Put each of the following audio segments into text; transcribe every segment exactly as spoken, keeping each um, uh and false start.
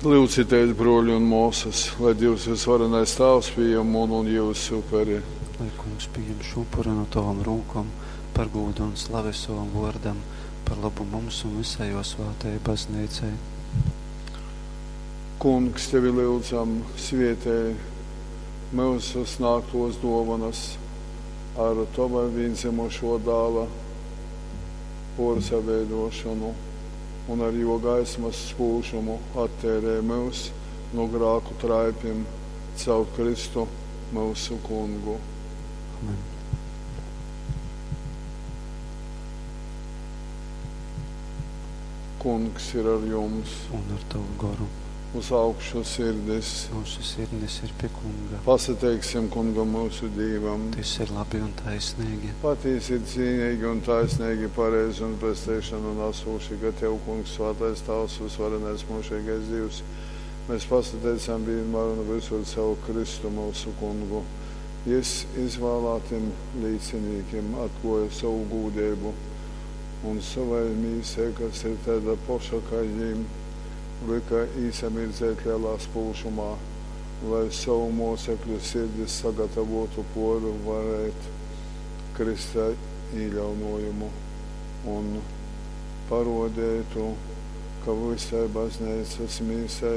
Lyudzitēs, brōļi un mōsas, lai Dīvs vysvarenais Tāvs pījem munu un jyusu uperi. Lai Kungs pījem šū upuru nu tovom rūkom par gūdu un slavi sovam vōrdam, par lobu mums un vysai jō svātajai Bazneicai. Kungs, tevi lyudzam, svētej myusu snāgtōs dōvonas ar tova vīndzymušō dāla pōrsaveidōšonu un ar jō gaismas spūžumu atteirej myus nu grāku traipim caur Kristu myusu Kungu. Amen. Kungs ir ar jums. Un ar tavu goru. Uz augšu sirdis. Mūsu sirdis ir pie Kunga. Pasateiksim Kungam myusu Dīvam. Tys ir labi un taisnīgi. Patīsi ir cīnīgi un taisnīgi, pareizi un pesteišanu nasūši, ka Tev, Kungs, svātais Tāvs, vysvarenais mūžīgais Dievs, mēs pasateicam vienmēr un visur caur Kristu mūsu Kungu. Jis izvēlētim līcinīkim atklāja savu gūdību un savai mīsai, kas ir tāda poša kā jīm, lika īsamirdzēt lielā spūžumā, lai savu mocekļu sirdis sagatavotu porvarēt Krista īļaunojumu un parodētu, ka visai baznīcas mīsai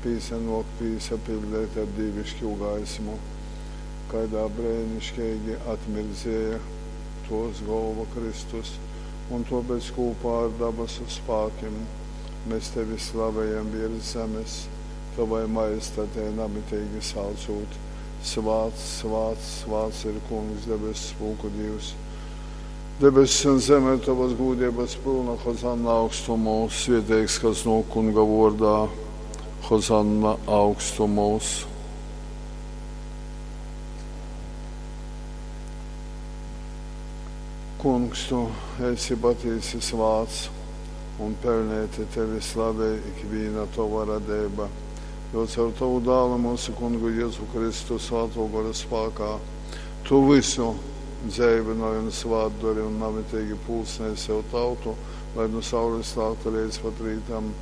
pīsanok pīsapildēt ar dīvišķu gaismu, kaidā brēnišķīgi atmirdzēja tos golva Kristus, un tāpēc kopā ar dabasu spākim mēs tevi slavējam virs zemes, tavai majestatei namitīgi saucot. Svāts, svāts, svāts ir Kungs, debesu spūku Dievs. Debesis un zeme ir tavas gūdības pilna, Hozanna augstumos, svētīgs, kas no Kunga vārdā, Hozanna augstumos. Kungs, tu esi patiesi svāts un pelnēti tevi slavē ikviena tava radība, jo caur tavu dālu mūsu kungu Jēzu Kristu svāto gora spākā tu visu dzēvināji un svātdari un namitīgi pulsnēji sev tautu, lai nu saules lākta līdz pat rītam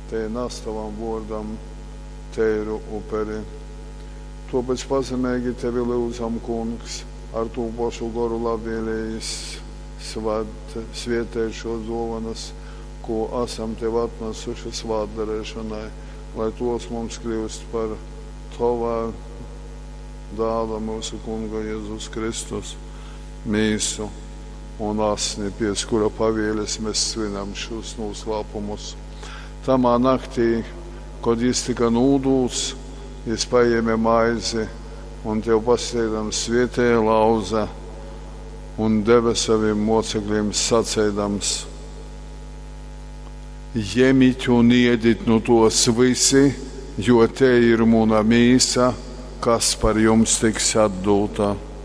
te nes tavam vōrdam teiru uperi. Tāpēc pazemīgi tevi lūdzam, Kungs, ar tū pašu goru labvēlējis svāt, svietēt šos dovanas, ko esam tev atnesuši svātdarēšanai, lai tos mums kļūst par tavā dāla mūsu Kunga Jēzus Kristus mīsu un asni, piec kura pavieles mēs svinam šos noslēpumus. Tamā naktī, kad jis tika nūdūts, jis paēma maizi un tev pasteidams svietēja lauza un deva saviem mocekļiem sacēdams: Ņemiet un iedit nu tos visi, jo te ir muna mīsa, kas par jums tiks atdūta.